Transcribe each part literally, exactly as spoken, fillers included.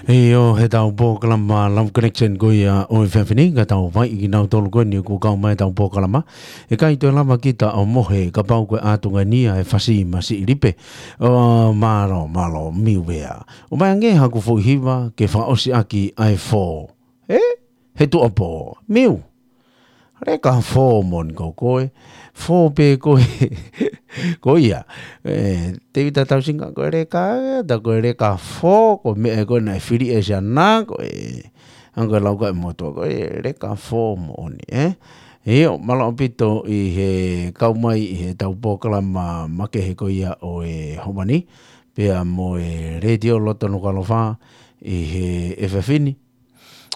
ʻIo, he tau polokalama Love Connection ko ia ʻo e efiafi ni, ka tau fai kinautolu ko eni ʻoku kau mai tau polokalama. ʻE ʻikai toe lava kita ʻo mohe kapau ko e ʻatunga ni ʻa e fasi masiʻi lipe. ʻO mālō, mālō, Miu ē. ʻOmai ange haku foʻi hiva ke fakaʻosi ʻaki ʻa e fō. Ē? He tuʻapō. Miu. Leka fō moʻoni ko koe. Fō pē koe. Ko ia. ʻE, Tēvita Tausinga ko e leka, ta ko e leka fō, ko e meʻa ko ē naʻe fili ʻe Siana, ko e, ʻa ko e lau ko ē motuʻa, ko e leka fō moʻoni, ē? ʻIo, mālō ʻaupito ʻi he kau mai ʻi he tau polokalama makehe ko ia ʻo e ʻaho ni, pea mo e Letiō Loto Nukuʻalofa ʻi he efiafi ni.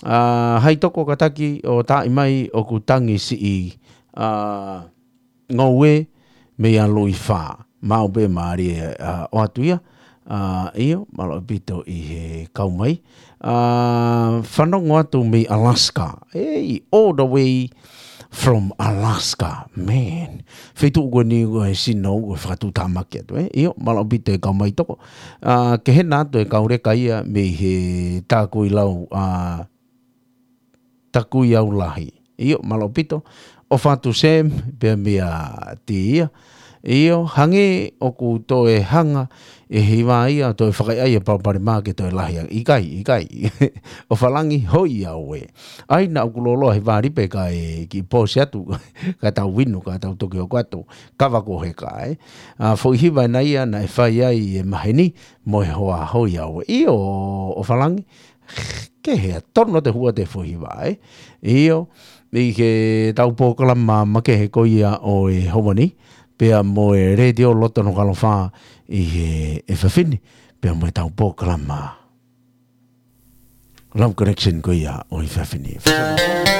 ʻA, hai toko kātaki ʻo taaʻi mai ʻoku tangi siʻi, ʻa, ngoue mei a Luifa. Maʻu pē mālie, ʻa, ʻoatu ia. ʻA, ʻio, mālō ʻaupito ʻi he kau mai. ʻA, fanongo atu mei Alaska. Hey, all the way from Alaska. Man. Feituʻu ko eni ko e sino, ko e fakatuʻutāmaki atu, ē? ʻIo, mālō ʻaupito e kau mai toko. ʻA, ke hena atu e kau leka ia mei he Takuilau, ʻa, Takuiau Lahi. ʻIo, mālō ʻaupito. ʻOfa atu Sam, pea mei a Tia. ʻIo, hangē ʻoku toe hanga ʻe he hiva ia, toe fakaʻai e palopalema ke toe lahi ange. ʻIkai, ʻikai. ʻOfalangi hoi au ē. ʻAi naʻa ku loloa he vālipe ka e kiʻi pōsi atu, ka tau inu, ka tau toki hoko atu. Kava ko heka, ē. ʻA, foʻi hiva ena ia naʻe fai ai e maheni, mo e hoa hoi au ē. ʻIo, ʻOfalangi, ke hea tonu te hua te foʻi hiva, ē. ʻIo, ʻi he tau polokalama makehe ko ia ʻo e ʻaho ni, pea mo e Letiō Loto Nukuʻalofa ʻi he efiafi ni, pea mo e tau polokalama Love Connection ko ia ʻo e efiafi ni.